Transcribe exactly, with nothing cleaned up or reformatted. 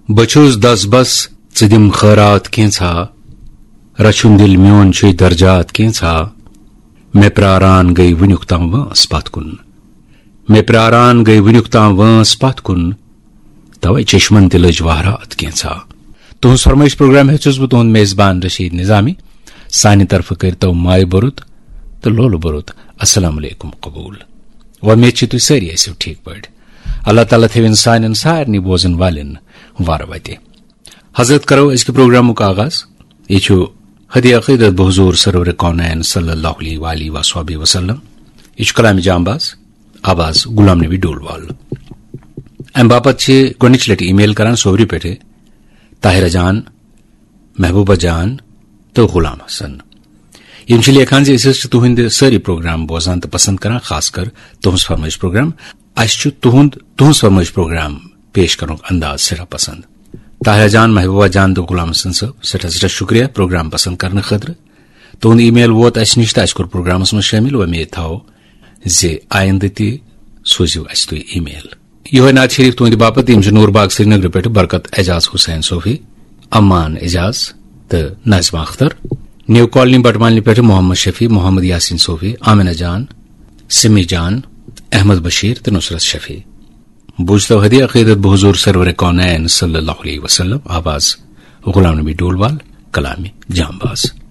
بہٕ چھُس دس بس، ژٕ دِم خٲرات کینٛژھا۔ رچھُن دِل میون چھُے درجات کینٛژھا۔ مےٚ پراران گٔے وٕنیُک تام وٲنٛس پتھ کُن۔ مےٚ پراران گٔے وٕنیُک تام وٲنٛس پتھ کُن۔ توے چشمن تہِ لٔج وہرات کینٛژھا۔ تُہنٛز فرمٲیش پروگرام ہیٚژ چھُس بہٕ تُہنٛد میزبان رشید نظامی۔ سانہِ طرفہٕ کٔرتو مایہِ بوٚرُت تہٕ لولہٕ بوٚرُت السلام علیکم قبول۔ وۄمید چھِ تُہۍ سٲری ٲسِو ٹھیٖک پٲٹھۍ۔ اللہ تعالیٰ تھٲوِن سانٮ۪ن سارنٕے بوزن والٮ۪ن وارٕ وتہِ۔ حضرت، کرو أزکہِ پروگرامُک آغاز۔ یہِ چھُ ہدی عقیدت بحضور سرور کونین صلی اللہ علیہ وآلہ وصحبہ وسلم۔ یہِ چھُ کلام جانباز، آواز غلام نبی ڈولوال۔ امہِ باپتھ چھِ گۄڈٕنِچ لٹہِ ای میل کران سوورِ پٮ۪ٹھٕ طاہرہ جان، محبوبہ جان تہٕ غلام حسن۔ یِم چھِ لیکھان زِ أسۍ حظ چھِ تُہٕنٛدِ سٲری پروگرام بوزان تہٕ پسند کران، خاص کر تُہٕنٛز فرمٲیش پروگرام۔ اسہِ چھُ تُہُنٛد، تُہٕنٛز فرمٲیش پروگرام پیش کرنُک انداز سٮ۪ٹھاہ پسند۔ طاہرہ جان، محبوبہ جان تہٕ غلام حسن صٲب، سٮ۪ٹھاہ سٮ۪ٹھاہ شُکریہ پروگرام پسند کرنہٕ خٲطرٕ۔ تُہُنٛد ای میل ووت اسہِ نِش تہٕ اسہِ کوٚر پروگرامس منٛز شٲمِل۔ وۄمید تھاوو زِ آیندٕ تہِ سوٗزِو اسہِ تُہۍ ای میل۔ یِہوٚے نعت شریف تُہٕنٛدِ باپتھ، یِم چھِ نور باغ سرینگرٕ پٮ۪ٹھٕ برکت اعجاز حسین صوفی، امان اعجاز تہٕ ناظمہ اختر۔ نیو کالنی بٹمالنی پٮ۪ٹھٕ محمد شفیع، محمد یاسین صوفی، آمنہ جان، سمی جان، احمد بشیر تہٕ نصرت شفیع۔ بوٗزتو ہدی عقیدت بحضور سرور کونین صلی اللہ علیہ وسلم، آواز غلام نبی ڈولوال، کلام جانباز۔